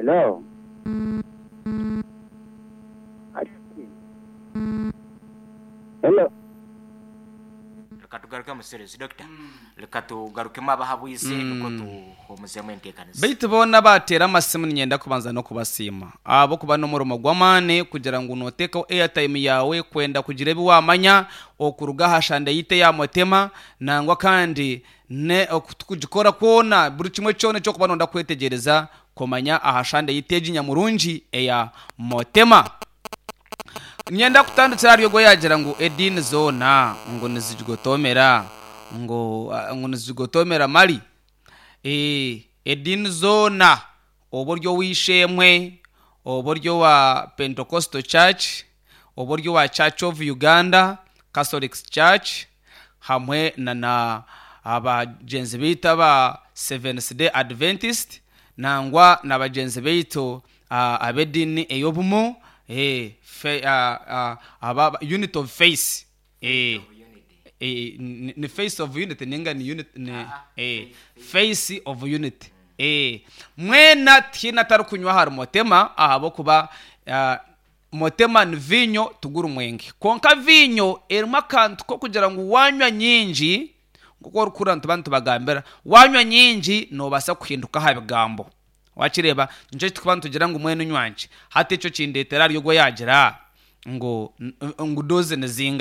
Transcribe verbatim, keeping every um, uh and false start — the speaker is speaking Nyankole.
Hello. Hello. Reka tugarukemu series, doctor. Reka tugarukemu abahabwize, niko tuhomuzemu enteekaniza. Baitu boona bateera amasimu, ninyenda kubanza n'okubasiima ahabw'okuba n'omurimo gw'amaani kugira ngu noteekaho airtime yawe kwenda kugira ebi wamanya okuruga aha shande yitu eya Motema, nangwa kandi ne okugikora kwona, buri kimwe kyona ekyokuba nonda kwetegyereza kumanya aha shande yitu egi nyamurungi eya Motema. Nyenda kutandikira ahari ogwo yagira ngu ediini zoona ngu nizigotomera, ngu ngu nizigotomera mari. Eh, ediini zoona, oba ori ow'eishe-emwe, oba ori owa Pentecostal Church, oba ori owa Church of Uganda, Catholic Church, hamwe na na abagyenzi baitu aba Seventh Day Adventist, nangwa na bagyenzi baitu ah, ab'ediini ey'obumu, eh, fe, ah, ah, aba Unit of Faith, eh, eh, ni, ni Face of Unity ninga ni unit, ni, eh, Face of Unity. eh, mwena tihaine atarikunywa ahari Motema, ahabw'okuba ah, Motema ni viinyo tugura omwenge, kwonka viinyo erimu akantu k'okugira ngu wanywa nyingi, nk'oku orikuhurira nituba nitubagambira, wanywa nyingi noobaasa kuhinduka aha bigambo. Wakireeba, nikyo kitukuba nitugira ngu mwene onywangye. Hati ekyo kindeetera ahari ogwo yagira ngu ngu dose ni zingahi.